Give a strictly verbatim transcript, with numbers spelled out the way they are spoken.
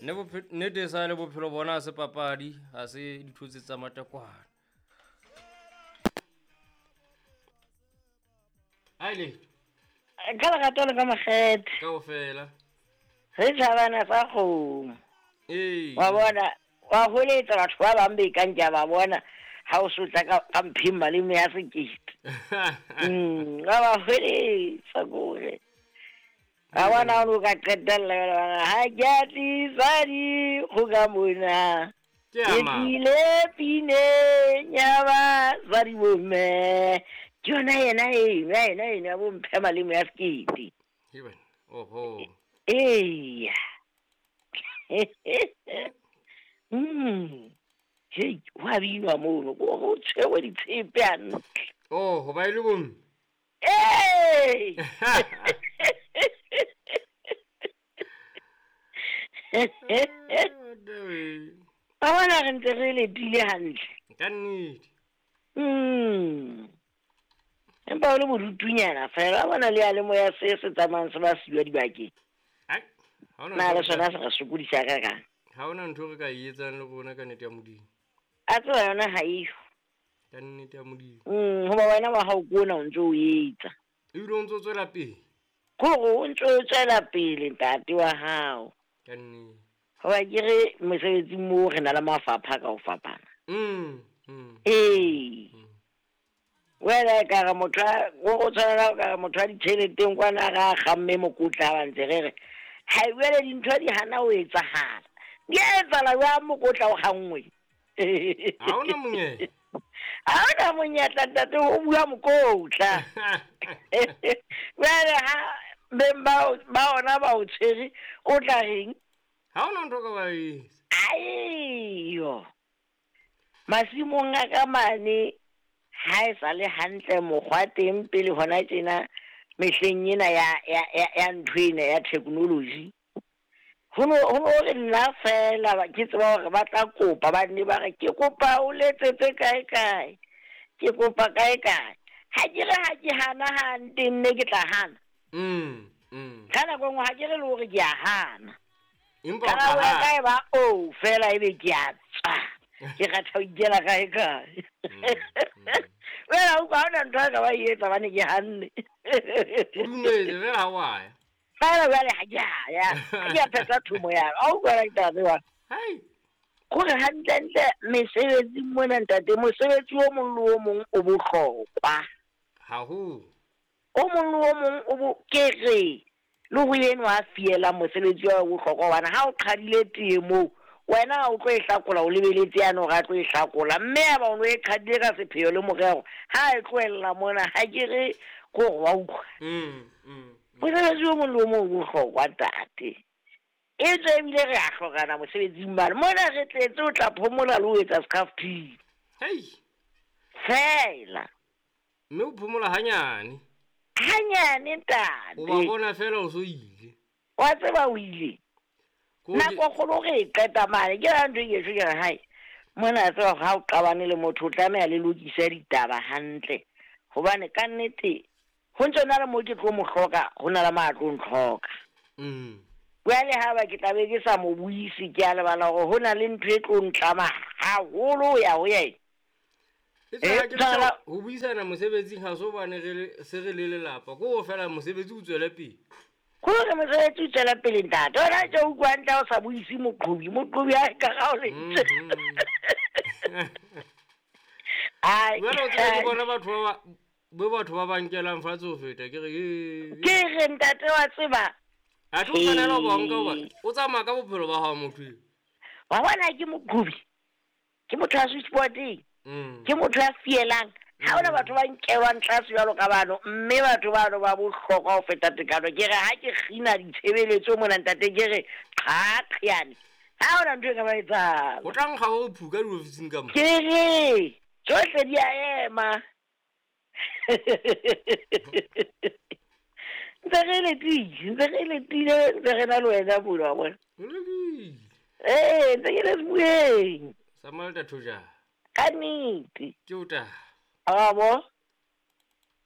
Nne bophe- nnete e sa le bophelo bona ha se papadi, ha se dithotse tsa matekwane. Aile. Ka lerato le ka makgethe. Kaofela. Re tjhabana sa kgomo. Ee. Wa bona, wa holetsa batho ba bang be kang ke a ba bona ha o sotla ka, ka mpheng maleme ya sekete. Mm, wa ba holetsa kore. Wa bona o ka qetella jwale wa re, ha ke a tlisa dikgoka mona. Ke Ke a mang? tlile pineng ya basadi bomme. Ke yona yena eno, ya yena eno ya bo mphe maleme ya sekete. He bana, oho. Eya. Mm. Hei, ho a binwa mono, ko ho tshwerwe ditshepe hantle. Oh, ho ba e le bomme? Ee! Ba bona re ntse re letile hantle. Ka nnete. Mm. Empa o le bodutunyana fela, wa bona le ya le moya se se tsamayang se ba siwa dibakeng. Ai, ha hona Na ntho le re ka sona se re sokodisa ka kang? Ha hona ntho re ka e etsang le rona ka nnete ya Modimo. A tseba yona ha eyo. Ka nnete ya Modimo. Mm, hoba wena wa hao ke ona o ntso o etsa. Ebile o ntso tswela pele. Ke hore o ntso o tswela pele ntate wa hao. Ka nnete. Hoba ke re mosebetsing moo re na le mafapha ka ho fapana. Mm, mm. Ee. Mm. Wena e ka re motho a, o go tshwanela o ka re motho a ditjheleteng kwana ga a kgamme mokotla ba ntse re re, ha e jwale dintho di hana ho etsahala. Di a etsahala jwang mokotla o kganngwe? Ha hona monyetla. Ha hona monyetla ntate, ho bua mokotla. Jwale ha beng ba o, ba ona ba o tshwere, o tla reng? Ha hona ntho o ka ba etsa. Aiyo. Masimong a ka mane, ha e sa le hantle mokgwa teng pele hona tjena mehleng ena ya, ya, ya, ya ntho ena ya technology. Ho no, ho no re nna fela ba, ke tseba hore ba tla kopa, ba nne ba re, ke kopa o letsetse kae kae, ke kopa kae kae. Ha ke re ha ke hana ha nte nne ke tla hana. Mm, mm. Ka nako e nngwe ha ke re le hore ke a hana. Empa Ka o tla nako ya hana. ka e ba o fela ebe ke a tswa. Ke kgatha ho ikela kae kae. Mm, mm. Wena o utlwa ha hona ntho a ka ba e etsa hobane ke hanne. O dumetse fela ha wa ya. Fela jwale ha ke a ya. Ha ke a phetha thomo ya ka. Ha o utlwa ditaba tse jwalo. Hai. Kore hantlentle mesebetsing mona ntate, mosebetsi o mong le o mong o bohlokwa. Haholo. O mong le o mong o bo, ke re, le ho enwa a fielang mosebetsi wa bohlokwa hobane ha o qhadile tee moo, wena ha o tlo e hlakola, o lebeletse yane hore a tlo e hlakola. Mme ya ba o no e qhadile ka sepheo le morero, ha e tlohella mona, ha ke re ke hore wa utlwa. Mm, mm, mm. Mosebetsi o mong le o mong o bohlokwa ntate. E tswe ebile re a hlokana mosebetsing mane. Mona re tletse o tla phomola le ho etsa scarf-pin. Hei. Fela. Mme o phomola hanyane. Hanyane ntate. O ba bona fela o so ile. Wa tseba o ile. Ko ke- Nako kgolo re e qeta mane, ke yona ntho e ke tjho ke re, hai, mona a tseba hore ha o qabane le motho o tlameha le lokise ditaba hantle. Hobane ka nnete ho ntso na le moo ke tlo mo hloka, ho na le mo a tlo ntlhoka. Mm. Jwale ha ba ke tla be ke sa mo buise, ke a lebala hore ho na le ntho e tlo ntlama haholo ho ya ho yena. E tswa ha Eh, ke tshwana tla ho buisana mosebetsing ha so bane re le, se re le lelapa. Ke ho fela mosebetsi o tswele pele. Ke hore mosebetsi o tswele pele ntate. Wena tje o utlwa hantle ha o sa buise moqhobi, moqhobi ha e ka ga o lentswe. Mm-hmm. Ai, Jwale o tsebe ke ai. bona batho ba ba, bo batho ba ba nkelang fatshe ho feta, ke re, ee. Ke re ntate wa tseba. Ha ke o tshwanela ho ba nka hoba Ee. o tsamaya ka bophelo ba hao motho eo. Wa bona ke moqhobi. Ke motho ya switchboard-eng. Mm. Ke motho ya fielang. Ha hona batho ba nkelwang tlase jwalo ka bano, mme batho bano ba bohlokwa ho feta tekano. Ke re ha ke kgina ditshebeletso mona ntate, ke re qha qhiyane. Ha hona ntho e ka ba etsahala. Ho tla nkga ho phuka diofising ka mo. Ke re tsohle di a ema. Ntse re letile, ntse re letile, ntse re na le wena mona, wa bona. Ho lokile. Ee, ntse ke le sebueng. Sa Malta Thojana. Ka nnete. Ke o taba. Wa bo?